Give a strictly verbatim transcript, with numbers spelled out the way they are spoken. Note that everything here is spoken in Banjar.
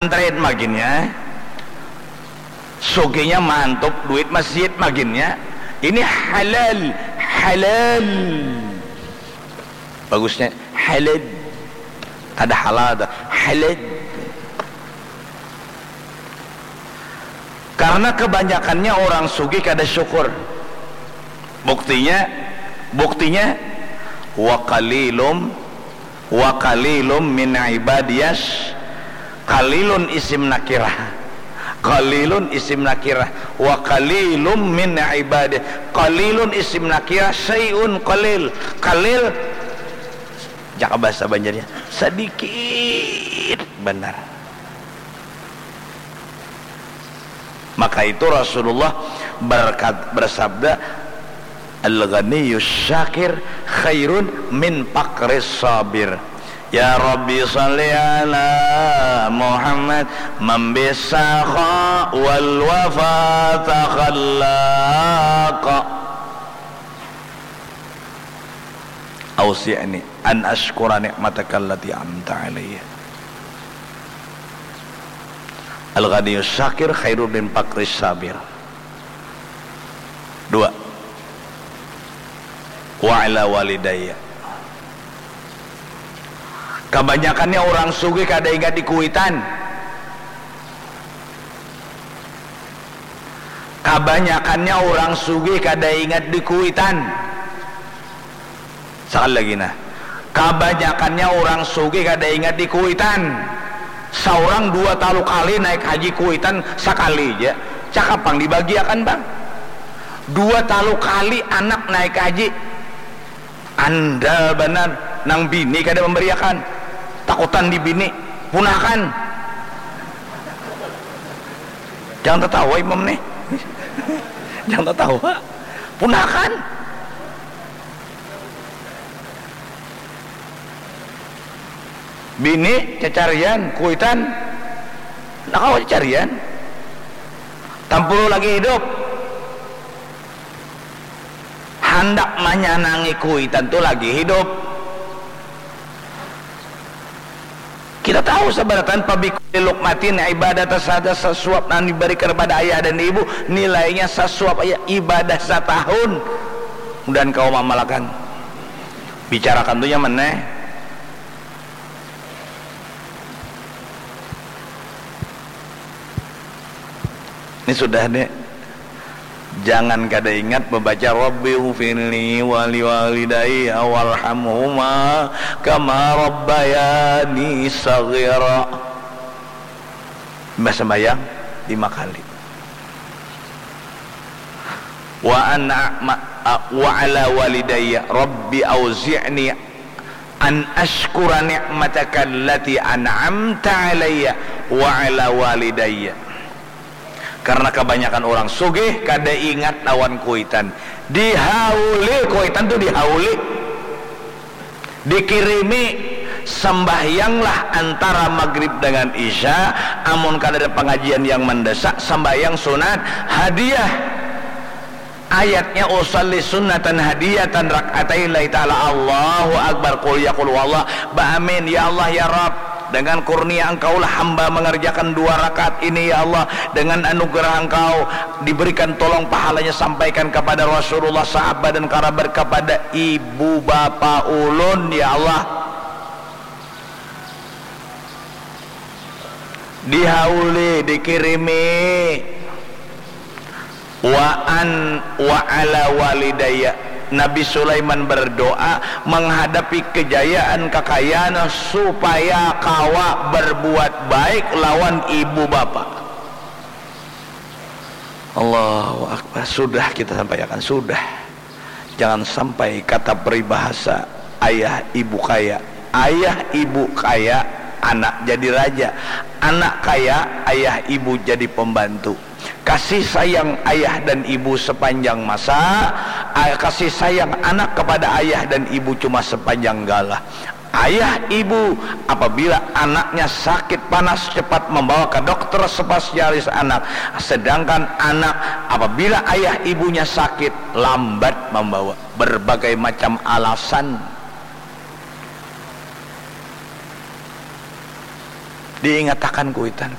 Trade maginnya. Sugihnya mantup duit masjid maginnya. Ini halal, halal. Bagusnya halal. Ada halal ada halal. Karena kebanyakannya orang sugih kada syukur. Buktinya, buktinya wa qalilum Wa qalilum min ibadiyas, qalilun isim nakirah. Qalilun isim nakirah. Wa qalilum min ibadi. Qalilun isim nakirah, syai'un qalil. Qalil, jaka bahasa Banjarnya, sedikit benar. Maka itu Rasulullah berkat, bersabda, "Al-ghaniyus syakir khairun min faqris sabir." Ya Rabbi salli ala Muhammad, man bisakha wal wafa takhallaqa. Auzi'ni an asykura ni'mataka allati an'amta alayya. Al-ghaniyus syakir khairun min faqris sabir. Dua. Wa ala walidayya. Kabanyakannya orang sugih kada ingat di kuitan. Kabanyakannya orang sugih kada ingat di kuitan. Sakali lagi nah, kabanyakannya orang sugih kada ingat di kuitan. Saurang dua talu kali naik haji kuitan sakali ja. Cakap pang dibagiakan bang. Dua talu kali anak naik haji. Andal banar, nang bini kada mambariakan, takutan di bini, punakan. Jangan tatawa imam nih. Jangan tatawa. Punakan. Bini cacarian, kuitan, nakawa cacarian. Tampulu lagi hidup. Handak manyanangi kuitan tu lagi hidup. Kita tahu sabaratan pabikulli luqmatin ibadah tasada sasuap nang dibarikan kepada ayah dan ibu nilainya sasuap aya ibadah satahun. Mudahan kawa mamalakan. Bicarakan tu nyaman neh. Ini sudah nih. Jangan kada ingat membaca Rabbi ufirli wali walidayya warhamhuma kama rabbayani saghira. Mbah sembayang lima kali. Wa ana ma- a- wa ala walidayya Rabbi auzi'ni an asykura ni'mataka allati an'amta alayya wa ala walidayya. Karena kebanyakan orang sugih kada ingat lawan kuitan. Dihauli kuitan tu dihauli. Dikirimi sambahyanglah antara magrib dengan isya, amun kada ada pengajian yang mendesak sambahyang sunat hadiah. Ayatnya usalli sunnatan hadiyatan rak'atai lillahi ta'ala. Allahu Akbar, qul ya qul huwallah, baamin, ya Allah ya Rabb, dengan kurnia engkaulah hamba mengerjakan dua rakaat ini ya Allah, dengan anugerah engkau diberikan tolong pahalanya sampaikan kepada Rasulullah, sahabat dan kerabat, kepada ibu bapa ulun ya Allah. Dihauli, dikirimi. Wa an wa ala walidayya. Nabi Sulaiman berdoa menghadapi kejayaan kekayaan supaya kawa berbuat baik lawan ibu bapa. Allahu Akbar. Sudah kita sampaikan, sudah. Jangan sampai kata peribahasa ayah ibu kaya. Ayah ibu kaya, anak jadi raja. Anak kaya, ayah ibu jadi pembantu. Kasih sayang ayah dan ibu sepanjang masa, a- kasih sayang anak kepada ayah dan ibu cuma sepanjang galah. Ayah ibu, apabila anaknya sakit panas, cepat membawa ke dokter spesialis anak. Sedangkan anak, apabila ayah ibunya sakit, lambat membawa. Berbagai macam alasan. Diingatakan kuitan,